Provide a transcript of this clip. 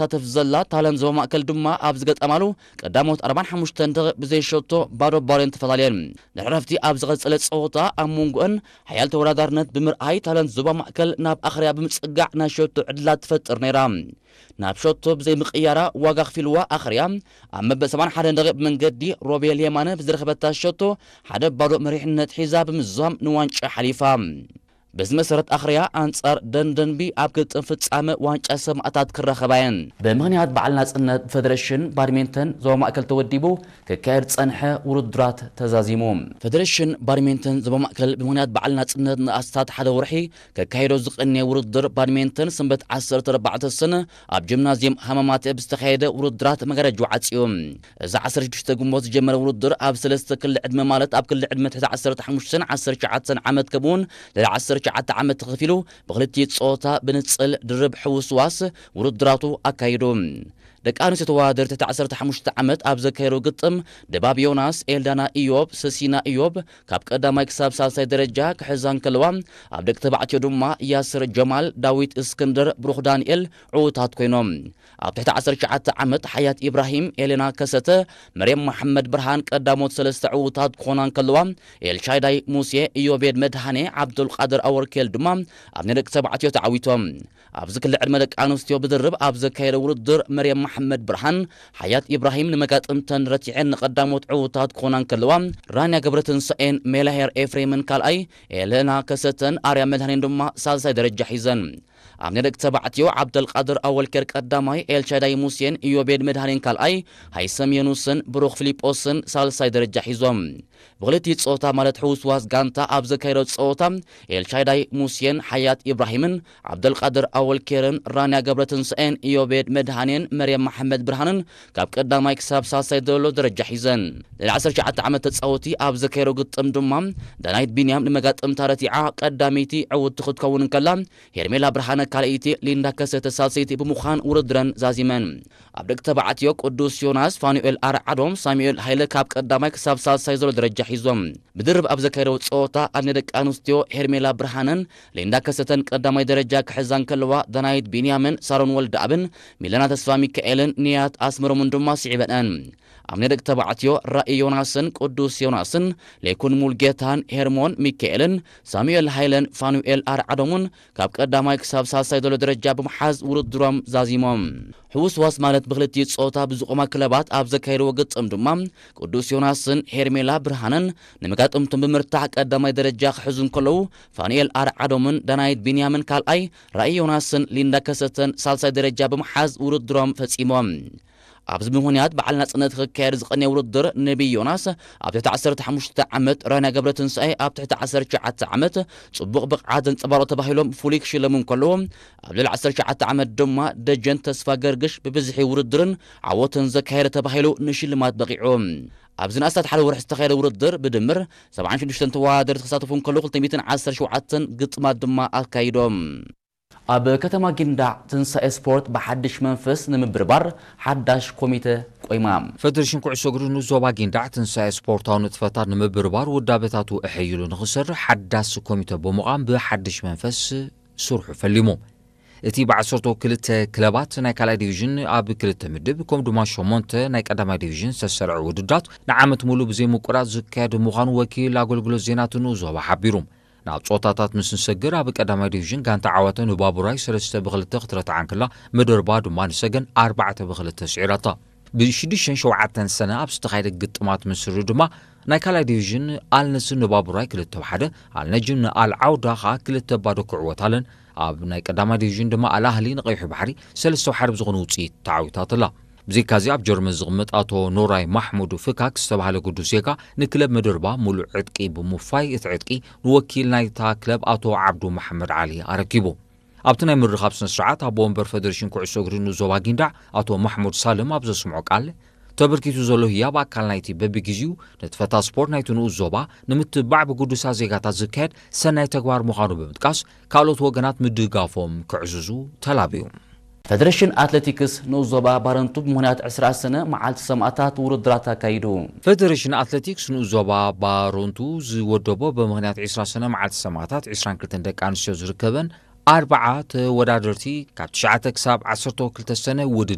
ትሳተፍ ዘላ ታይላንድ ዞባ ማእከል ድማ ኣብ ዝገጠማሉ ቀዳሞት ኣርባዓን ሓሙሽተን ደቂቕ ብዘይ ሸቶ ባዶ ባዶ እየን ተፈላለየን። ድሕሪ ዕረፍቲ ኣብ ዝቐጸለ ጸወታ ኣብ መንጎአን ሓያል ተወዳዳርነት ብምርኣይ ታይላንድ ዞባ ማእከል ናብ ኣኽርያ ብምጽጋዕ ናይ ሸቶ ዕድላት ትፈጥር ነይራ። ናብ ሸቶ ብዘይ ምቕያራ ዋጋ ኣኽፊልዋ ኣኽርያ ኣብ መበል ሰብዓን ሓደን ደቂቕ ብመንገዲ ሮቤል የማነ ብዝረኸበታ ሸቶ ሓደ ባዶ መሪሕነት ሒዛ ብምዝዛም ንዋንጫ ሓሊፋ። በዚ መሰረት ኣኽርያ ኣንጻር ደንደንቢ ኣብ ግጥም ፍጻመ ዋንጫ ሰማእታት ክራኸባ እየን። ብምኽንያት በዓል ናጽነት ብፈደረሽን ባድሜንተን ዞባ ማእከል ተወዲቡ ክካየድ ዝጸንሐ ውድድራት ተዛዚሙ። ፈደረሽን ባድሜንተን ዞባ ማእከል ብምኽንያት በዓል ናጽነት ንኣስታት ሓደ ወርሒ ከካይዶ ዝቐነየ ውድድር ባድሜንተን ሰንበት ዓሰርተ ኣርባዕተ ሰነ ኣብ ጂምናዝየም ሃማማተ ብዝተኻየደ ውድድራት መጋረጃ ዓጽዩ። እዚ ዓሰርተ ሽዱሽተ ግንቦት ዝጀመረ ውድድር ኣብ ሰለስተ ክሊ ዕድመ ማለት ኣብ ክሊ ዕድመ ትሕቲ ዓሰርተ ሓሙሽተን ዓሰርተ ትሽዓተን ዓመት ከምኡውን ልዕሊ ዓሰርተ ትሽዓተ ዓመት ተኸፊሉ ብክልቲኡ ጾታ ብንጽል ድርብ ሕውስዋስ ውድድራቱ ኣካይዱ። ደቂ ኣንስትዮ ተወዳደርቲ ትሕቲ ዓሰርተ ሓሙሽተ ዓመት ኣብ ዘካየደው ግጥም ድባብ ዮናስ፣ ኤልዳና ኢዮብ፣ ሰሲና ኢዮብ ካብ ቀዳማይ ክሳብ ሳልሳይ ደረጃ ክሕዛ እንከለዋ፣ ኣብ ደቂ ተባዕትዮ ድማ ያስር ጀማል፣ ዳዊት እስክንድር፣ ብሩኽ ዳንኤል ዕዉታት ኮይኖም። ኣብ ትሕቲ ዓሰርተ ትሽዓተ ዓመት ሓያት ኢብራሂም፣ ኤሌና ከሰተ፣ መርየም መሓመድ ብርሃን ቀዳሞት ሰለስተ ዕዉታት ክኾና እንከለዋ፣ ኤልሻዳይ ሙሴ፣ ኢዮቤድ መድሃኔ፣ ዓብዱልቃድር ኣወርኬል ድማ ኣብ ናይ ደቂ ተባዕትዮ ተዓዊቶም። ኣብዚ ክሊ ዕድመ ደቂ ኣንስትዮ ብድርብ ኣብ ዘካየደ ውድድር መርየም መሓመድ ብርሃን፣ ሓያት ኢብራሂም ንመጋጥምተን ረቲዐን ንቐዳሞት ዕዉታት ክኾና እንከለዋ፣ ራንያ ገብረትንሳኤን ሜላሄር ኤፍሬምን ካልኣይ፣ ኤለና ከሰተን ኣርያ መድሃኔን ድማ ሳልሳይ ደረጃ ሒዘን። ኣብ ናይ ደቂ ተባዕትዮ ዓብደልቃድር ኣወልኬር ቀዳማይ፣ ኤልሻዳይ ሙሴን ኢዮቤድ መድሃኔን ካልኣይ፣ ሃይሰም የኑስን ብሩኽ ፊሊጶስን ሳልሳይ ደረጃ ሒዞም። ብክልቲኡ ጾታ ማለት ሕውስዋስ ጋንታ ኣብ ዘካየዶ ጸወታ ኤልሻዳይ ሙሴን ሓያት ኢብራሂምን ዓብደልቃድር ኣወልኬርን ራንያ ገብረትንሳኤን ኢዮቤድ መድሃኔን መርየም መሓመድ ብርሃንን ካብ ቀዳማይ ክሳብ ሳልሳይ ዘሎ ደረጃ ሒዘን። ልዕሊ ዓሰርተ ትሽዓተ ዓመት ተጻወቲ ኣብ ዘካየዶ ግጥም ድማ ዳናይት ቢንያም ንመጋጥምታ ረቲዓ ቀዳመይቲ ዕውትቲ ክትከውን እንከላ፣ ሄርሜላ ብርሃነ ካልኣይቲ፣ ሊንዳ ከሰተ ሳልሰይቲ ብምዃን ውድድረን ዛዚመን። ኣብ ደቂ ተባዕትዮ ቅዱስ ዮናስ፣ ፋኑኤል ኣርዓዶም፣ ሳሙኤል ሃይለ ካብ ቀዳማይ ክሳብ ሳልሳይ ዘሎ ደረጃ ሒዞም። ብድርብ ኣብ ዘካየደው ጸወታ ኣብ ናይ ደቂ ኣንስትዮ ሄርሜላ ብርሃነን ሊንዳ ከሰተን ቀዳማይ ደረጃ ክሕዛ እንከለዋ፣ ዳናይት ቢንያምን ሳሮን ወልደኣብን ሚለና ተስፋ ሚካኤልን ንያት ኣስመሮምን ድማ ስዒበንአን። ኣብ ናይ ደቂ ተባዕትዮ ራኢ ዮናስን ቅዱስ ዮናስን ሌኩን ሙልጌታን ሄርሞን ሚካኤልን ሳሙኤል ሃይለን ፋኑኤል ኣርዓዶምን ካብ ቀዳማይ ክሳብ ሳልሳይ ዘሎ ደረጃ ብምሓዝ ውድድሮም ዛዚሞም። ሕውስዋስ ማለት ብክልቲኡ ጾታ ብዝቖማ ክለባት ኣብ ዘካየድዎ ግጥም ድማ ቅዱስ ዮናስን ሄርሜላ ብርሃነን ንመጋጥምቶም ብምርታዕ ቀዳማይ ደረጃ ክሕዙ እንከለዉ፣ ፋኑኤል ኣርዓዶምን ዳናይት ቢንያምን ካልኣይ፣ ራኢ ዮናስን ሊንዳ ከሰተን ሳልሳይ ደረጃ ብምሓዝ ውድድሮም ፈጺሞም። ኣብዚ ምኽንያት በዓል ናጽነት ክካየድ ዝቐነየ ውድድር ነቢይ ዮናስ ኣብ ትሕቲ ዓሰርተ ሓሙሽተ ዓመት፣ ራንያ ገብረትንሳኤ ኣብ ትሕቲ ዓሰርተ ትሽዓተ ዓመት ጽቡቕ ብቕዓት ዘንጸባረቑ ተባሂሎም ፍሉይ ክሽለሙ እንከለዉ፣ ኣብ ልዕሊ ዓሰርተ ትሽዓተ ዓመት ድማ ደጀን ተስፋ ገርግሽ ብብዝሒ ውድድርን ዓወትን ዘካየደ ተባሂሉ ንሽልማት በቒዑ። ኣብዚ ንኣስታት ሓደ ወርሒ ዝተኻየደ ውድድር ብድምር ሰብዓን ሽዱሽተን ተወዳደርቲ ክሳተፉ እንከለዉ፣ ክልተ ሚእትን ዓሰርተ ሸውዓተን ግጥማት ድማ ኣካይዶም። ኣብ ከተማ ጊንዳዕ ትንሳኤ ስፖርት ብሓድሽ መንፈስ ንምብርባር ሓዳሽ ኮሚተ ቆይማ። ፈደሬሽን ኩዕሶ እግሪ ንዞባ ጊንዳዕ ትንሳኤ ስፖርታዊ ንጥፈታት ንምብርባር ውዳበታቱ ኣሐይሉ ንኽሰርሕ ሓዳስ ኮሚተ ብምቋም ብሓድሽ መንፈስ ስርሑ ፈሊሙ። እቲ ብዓሰርተ ክልተ ክለባት ናይ ካልኣይ ዲቪዥን ኣብ ክልተ ምድብ፣ ከምኡ ድማ ሸሞንተ ናይ ቀዳማይ ዲቪዥን ዝተሰርዐ ውድድራት ንዓመት ሙሉእ ብዘይ ምቁራጽ ዝካየድ ምዃኑ ወኪል ኣገልግሎት ዜና እቲ ንኡስ ዞባ ሓቢሩ። ናብ ጾታታት ምስ ንሰግር፣ ኣብ ቀዳማይ ዲቪዥን ጋንታ ዓዋተ ንባቡራይ ሰለስተ ብክልተ ክትረትዓ እንከላ፣ መደርባ ድማ ንሰገን ኣርባዕተ ብክልተ ስዒራታ። ብሽዱሽተን ሸውዓተን ሰነ ኣብ ዝተኻየደ ግጥማት ምስ ርኡ ድማ፣ ናይ ካልኣይ ዲቪዥን ኣልነስር ንባቡራይ ክልተ ብሓደ፣ ኣልነጅም ንኣል ዓውዳ ኸኣ ክልተ ባዶ ክዕወት ኣለን። ኣብ ናይ ቀዳማይ ዲቪዥን ድማ ኣል ኣህሊ ንቀይሑ ባሕሪ ሰለስተ ብሓደ ብዝኾነ ውጽኢት ተዓዊታትላ። ብዘይካዚ ኣብ ጀርመን ዝቕመጥ ኣቶ ኖራይ ማሕሙድ ፍካክ ዝተባህለ ግዱስ ዜጋ ንክለብ መደርባ ሙሉእ ዕጥቂ ብምውፋይ፣ እቲ ዕጥቂ ንወኪል ናይታ ክለብ ኣቶ ዓብዱ መሓመድ ዓሊ ኣረኪቡ። ኣብቲ ናይ ምርኻብ ስነ ስርዓት ኣቦ ወንበር ፈደሬሽን ኩዕሶ እግሪ ንኡስ ዞባ ጊንዳዕ ኣቶ ማሕሙድ ሳልም ኣብ ዘስምዖ ቃል፣ ተበርኪቱ ዘሎ ህያብ ኣካል ናይቲ በብግዜኡ ንጥፈታት ስፖርት ናይቲ ንኡስ ዞባ ንምትብባዕ ብግዱሳት ዜጋታት ዝካየድ ሰናይ ተግባር ምዃኑ ብምጥቃስ፣ ካልኦት ወገናት ምድጋፎም ክዕዝዙ ተላብዩ። ፈደሬሽን ኣትሌቲክስ ንኡስ ዞባ ባረንቱ ብምኽንያት ዕስራ ሰነ መዓልቲ ሰማእታት ውድድራት ኣካይዱ። ፈደሬሽን ኣትሌቲክስ ንኡስ ዞባ ባረንቱ ዝወደቦ ብምኽንያት ዕስራ ሰነ መዓልቲ ሰማእታት ዕስራን ክልተን ደቂ ኣንስትዮ ዝርከበን ኣርባዓ ተወዳደርቲ ካብ ትሽዓተ ክሳብ ዓሰርተ ክልተ ሰነ ውድድር